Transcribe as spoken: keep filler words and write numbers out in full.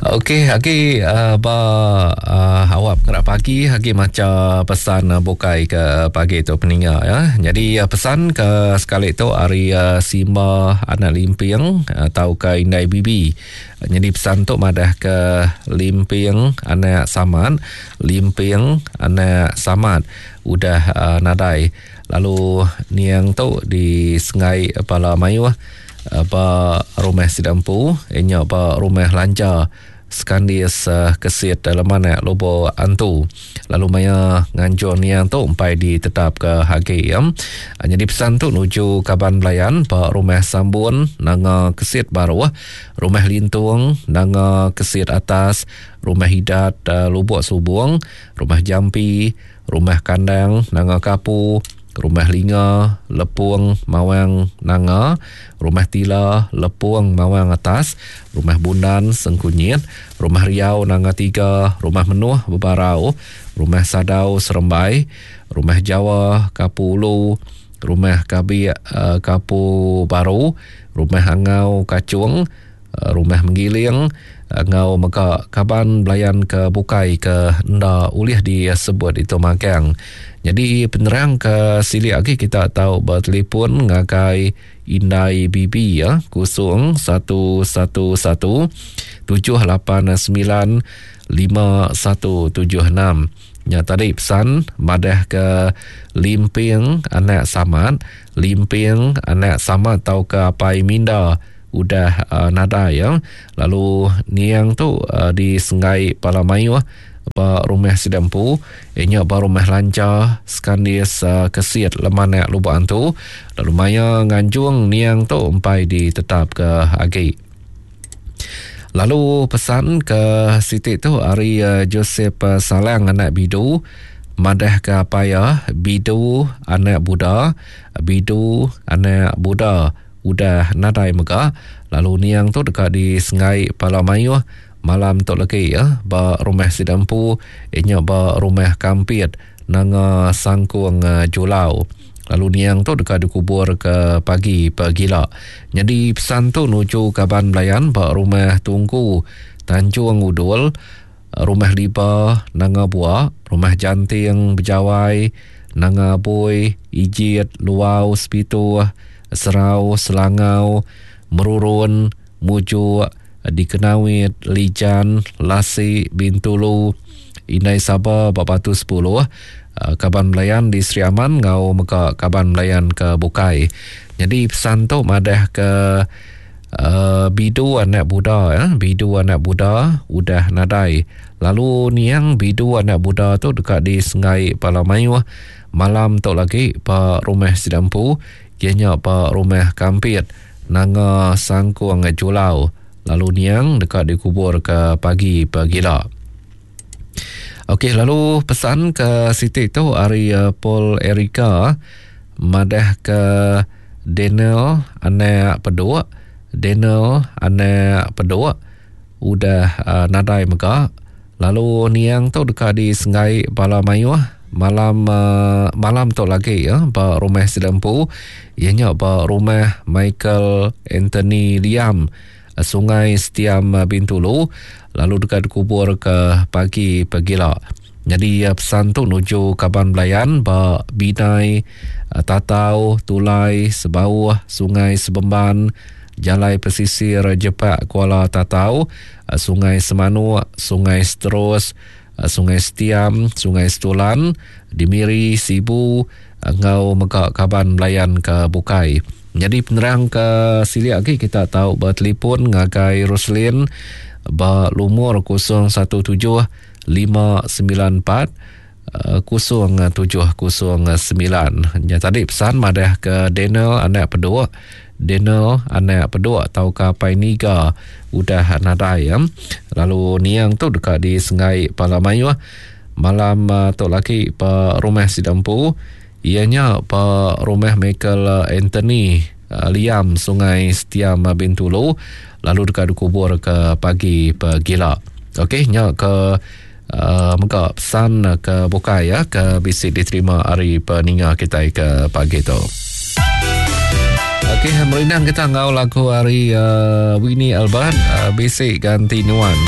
Okey, agi uh, ba uh, awak pengerak pagi agi maca pesan uh, bukai ke pagi tu peninga ya. Jadi uh, pesan ke sekali tu ari uh, Simba anak Limping atau ke Indai Bibi. Jadi pesan tu madah ke Limping anak Samad, Limping anak Samad udah uh, nadai. Lalu niang tu di Sengai Pala Mayuh ba rumah Sidampu, inya ba rumah Lanja Skandis uh, Kesit Lemanak Lobo Antu. Lalu maya nganjung niang tu empai ditetap ke hagi ya. Jadi pesan tu nuju kaban belayan ba rumah Sambun Nanga Kesit Baruh, rumah Lintung Nanga Kesit Atas, rumah Hidat uh, Lubuk Subung, rumah Jampi, rumah Kandang Nanga Kapu, rumah Linga Lepung Mawang Nanga, rumah Tila Lepung Mawang Atas, rumah Bundan Sengkunyit, rumah Riau Nanga Tiga, rumah Menuh Bebarau, rumah Sadau Serembai, rumah Jawa Kapu Ulu, rumah Kabik uh, Kapu Baru, rumah Angau Kacung, uh, rumah Menggiling, ngau mega kaban belayan ke bukai ke enda ulih disebut itu magang. Jadi penerang ke silik lagi kita tahu bertelefon ngagai Indai Bibi ya kosong satu satu satu tujuh lapan sembilan lima satu tujuh enam. Ya tadi pesan madah ke Limping anak Samad, Limping anak Samad tau ke Apai Minda udah uh, nadai ya. Lalu niang tu uh, di Sengai Pala Mayuh ba rumah Sidampu, inya ba rumah Lanca Skandis uh, Kesit Lemanak Lubuk Antu. Lalu maya nganjung niang tu empai ditetap ke agi. Lalu pesan ke siti tu ari uh, Joseph uh, Salang anak Bidu madah ke apaya Bidu anak Buddha, Bidu anak Buddha udah nadai mega. Lalu niang tu dekat di Sengai Pala Mayuh malam tu lagi ya ba rumah Sidampu, inya ba rumah Kampit Nanga Sangkung uh, Julau. Lalu niang tu dekat dikubur ke pagi pagila. Jadi pesan tu nuju kaban belayan ba rumah Tungku Tanjung Udul, rumah Liba Nanga Bua, rumah Janting Bejawai Nanga Bui, Ijit Luau Sepituh, Serau Selangau, Merurun Mujuk, Dikenawit Lijan, Lasi Bintulu, Indai Saba bak Batu sepuluh, kaban belayan di Sri Aman ngau mega kaban belayan ke Bukai. Jadi pesan tu madah ke uh, Bidu anak Buddha ya, Bidu anak Buddha udah nadai. Lalu niang Bidu anak Buddha tu dekat di Sengai Pala Mayuh malam tu lagi ba rumah Sidampu, ianya ba rumah Kampit Nanga Sangkung Julau. Lalu niang dekat dikubur ke pagi pagila. Okey, lalu pesan ke siti tu ari uh, Paul Erika madah ke Daniel anak Peduk, Daniel anak Peduk udah uh, nadai mega. Lalu niang tu dekat di Sengai Pala Mayuh malam uh, malam tu lagi ya ba rumah Sidampu, ianya ba rumah Michael Anthony Liam Sungai Setiam Bintulu. Lalu dekat dikubur ke pagi pagila. Jadi pesan tu nuju kaban belayan ba Binai, Tatau, Tulai, Sebauh, Sungai Sebemban, Jalai Pesisir Jepak Kuala Tatau, Sungai Semanuk, Sungai Seterus, Sungai Setiam, Sungai Setulan, di Miri, Sibu, ngau mega kaban belayan ke Bukai. Jadi penerang ke silik lagi kita tahu bertelefon ngagai Roslin ba lumur kosong satu tujuh lima sembilan empat kosong tujuh kosong sembilan. Ya tadi pesan madah ke Daniel anak Peduk, Daniel anak Peduk atau ke Apai Niga udah nadai ya. Lalu niang tu dekat di Sengai Pala Mayuh malam tu lagi ba rumah Sidampu, ianya ba rumah Michael Anthony Liam Sungai Setiam Bintulu. Lalu dekat dikubur ke pagi pagila. Okey, nya ke uh, mega pesan ke bukai ya ke bisi diterima hari peninga kita ke pagi tu. Okey, merindang kita ngau lagu hari uh, Winnie Albert uh, bisi ganti nuan.